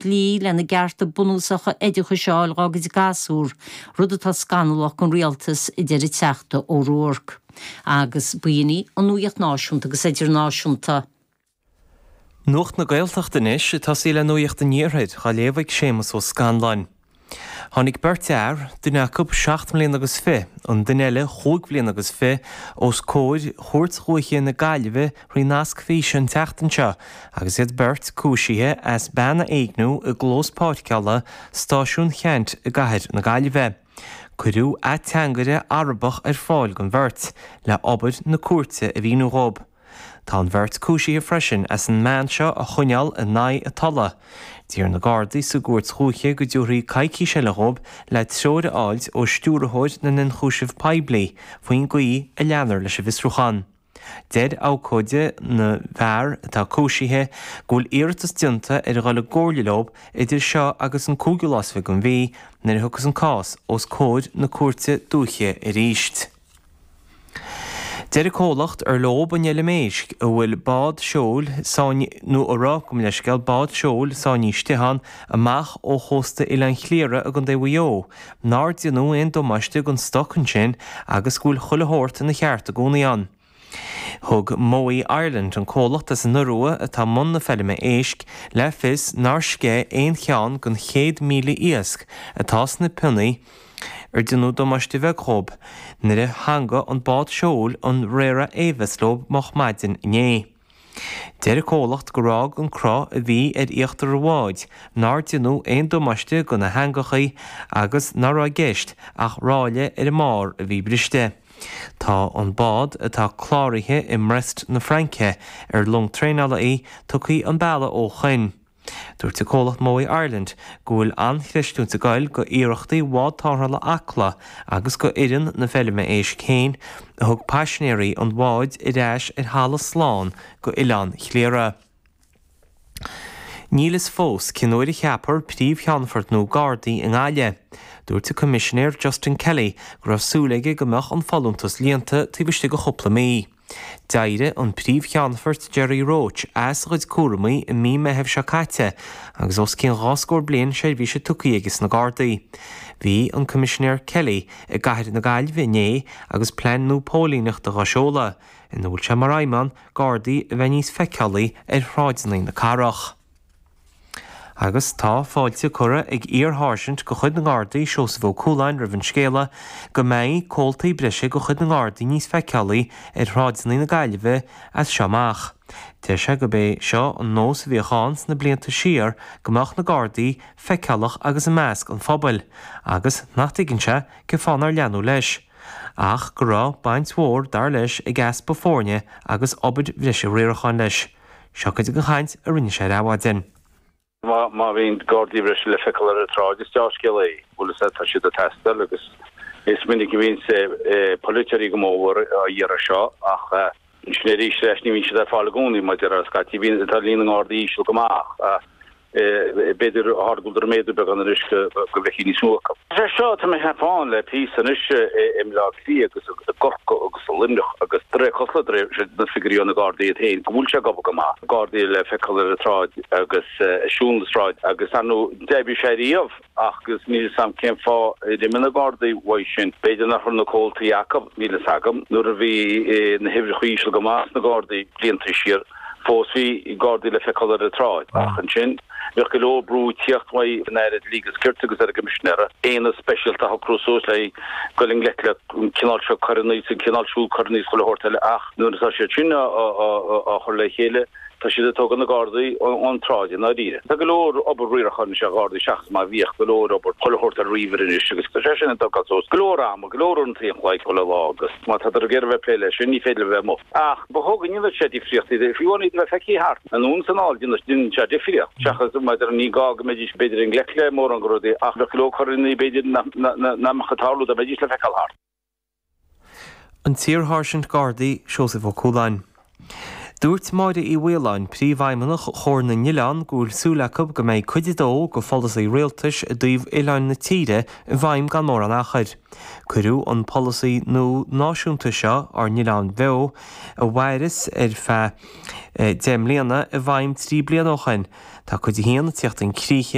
Dlí lena gcearta bunúsacha oideachais a fháil dhá gcuid gasúr, rud atá scannalach don rialtas, a deir an Teachta O'Rourke. Agus b'in í an nuaíocht náisiúnta agus idirnáisiúnta. Nuacht na Gaeltachta anois, ag tosaí le Nuacht an Iarthair, á léamh ag Séamus Ó Scanláin. Tháinig beirt fhear, duine acu seacht mbliana agus fi, an duine eile chúig bhliana agus fi, os comhair Chúirt Dhúiche na Gaillimhe thrí nasc físe an tseachtain seo agus iad beirt cúisithe as bean a éigniú i gclós páirceála Stáisiún Cheannt i gcathair na Gaillimhe. Cuireadh ateangaire Arabach ar fáil don bheirt le obair na cúirte a mhíniú dhóibh. Tá an bheirt cúisithe freisin as an mbean seo a choinneáil in aghaidh a tola. D'iarr na Gardaí sa gcúirt dhúiche go dtabharfaí coicís eile dhóibh le treoir a fháilt ó Stiúrthóir na nIonchúiseamh Poiblí faoin gcaoi a leanfar leis an bhfiosrúchán. Deir abhcóide na bhfear atá cúisithe go bhfuil iarratas déanta ar dhul i gcomhairle leo idir seo agus an cúigiú lá is fi den mhí nuair a thiocfas an cás os comhair na cúirte dúiche arís. Deir an comhlacht ar leob an fheilm éisc a bhfuil bád seoil sáinn nó a raibh, gabh mo leithscéal, bád seoil sáinnithe istigh ann amach ó chósta Oileán Chliara i gContae Mhaigh Eo, nár déanadh aon damáiste don stoc ansin agus go bhfuil chuile shórt ina cheart i gcónaí ann. Thug Mowi Ireland, an comhlacht as an Iorua atá i mbun na feilme éisc, le fios nár sceith aon cheann den 100,000 iasc atá sna pionnaí ar déanadh damáiste bheag dhóib nuair a theangaigh an bád seoil an Rara Avis leo moch maidin inné. Deir an comhlacht gur fhág an cruth a bhí ar íochtar an bháid nár déanadh aon damáiste do na heangachaí agus nach raibh i gceist ach ráille ar an mbarr a bhí briste. Tá an bád, atá cláraithe i mBrest na Fraince, ar long traenála í, tugtha an bealach ó shoin. Dúirt an comhlacht Mowi Ireland go bhfuil an-chreistiúint ag goil go iarrachtaí bhád tarrthála Acla agus go fhoireann na feilme éisc féin a thug paisinéirí an bháid ar ais ar thalamh slán go Oileán Chliara. Níl fhios fós cén uair a cheapfar Príomh-Cheannfort nua Gardaí i nGaillimh. Dúirt an Coimisinéir Justin Kelly go raibh súil aige go mbeadh an folúntas líonta taobh istigh de chúpla mí. D'éirigh an Príomh-Cheannfort Gerry Roche as a chuid cúramaí i mí Meithimh seo caite agus os cionn dhá scór bliain seirbhíse tugtha aige sna Gardaí. Bhí an Coimisinéir Kelly i gcathair na Gaillimhe inné agus plean nua póilíneachta dhá sheoladh, ina bhfuil sé mar aidhm ann Gardaí a bheith níos feiceálaí ar shráideanna na cathrach. Agus tá fáilte curtha ag iar-sháirsint de chuid na nGardaí, Seosamh Ó Cualáin, roimh an scéala go mbeidh comhaltaí breise de chuid na nGardaí níos feiceálaí ar shráideanna na Gaillimhe as seo amach. Deir sé gurb é seo an nós a bhíodh ann sna blianta siar go mbeadh na Gardaí feiceálach agus i measc an phobail agus nach dtuigeann sé cén fáth nár leanadh leis. Ach go raibh baint mhór, dar leis, ag easpa foirne agus obair bhreise riaracháin leis. Seo cuid den chaint a rinne sé ar Adhmhaidin. Má bhíonn Gardaí breise le feiceáil ar an tsráid is deá-scéal é, bhfuil fhios a'd, tá siad ag teastáil agus is minic a bhíonns polaiteoirí go mór á iarraidh seo ach ansin arís leis ní bhíonn siad ar fáil i gcónaí mar a déarfá scaití bíonn tá líon na nGardaí íseal go maith ach B'fhéidir go bhfuil siad ag méadú beagán anois go bhfeicfí níos mó acu. Is é seo atá mé ag ceapadh ann le píosa anois i mBleá Cliath agus i gCorcaigh agus i Luimneach agus de réir cosúla de réir na figiúirí ó na Gardaí iad féin go bhfuil sé ag obair go maith. Gardaí le feiceáil ar an tsráid agus ag siúl na sráid agus ar ndóigh d'oibrigh sé riamh ach agus níl fhios a'm cén fáth ar imigh na Gardaí uaidh sin. B'fhéidir nach raibh na comhaltaí acu, níl fhios agam. Nuair a bhí na huimhreacha íseal go maith sna Gardaí blianta siar, Fós bhí Gardaí le feiceáil ar an tsráid, ach ansin bhíodh go leor brú ag tíocht uaidh an Aire Dlí agus Cirt agus ar an gCoimisinéara aonad speisialta a shocrú suas le goil i ngleic le an cineál seo coireanna is an cineál siúd coireanna is chuile shórt eile ach nuair atá siad sin á chur le chéile tá siad ag tógáil na Gardaí ón tsráid i ndáiríre. Tá go leor obair riaracháin anois ar Ghardaí seachas mar a bhíodh, go leor obair chuile shórt ar ríomhaire anois agus tá sé sin ag tógáil suas go leor ama, go leor uaireanta an chloig chuile lá agus má tádar ag iarraidh a bheith ag plé leis sin ní féidir leo a bheith amuigh. Ach ba chóir go ndéanfadh sé difríocht iad, fiú amháin iad a bheith feicthe thart anonn is anall, déanann sé difríocht, seachas maidir, ní gá go mbeidís b'fhéidir i ngleic le mórán de rudaí ach bheadh go leor coireanna b'fhéidir nach mbeadh ag tarlú dá mbeidís le feiceáil thart. An t-iar-sháirsint Gardaí, Seosamh Ó Cualáin. Dúirt Máire Uí Mhaoláin, Príomhfheidhmeannach Chomhar na nOileán go bhfuil súil acu go mbeidh cuid a dó de pholasaí rialtais i dtaobh oileáin na tíre i bhfeidhm gan mórán achair. Cuireadh an polasaí nua náisiúnta seo, Ár nOileáin Bheo, a mhaireas ar feadh 10 mbliana, i bhfeidhm 3 bliana ó shin. Tá cuid a haon ag tíocht chun críche.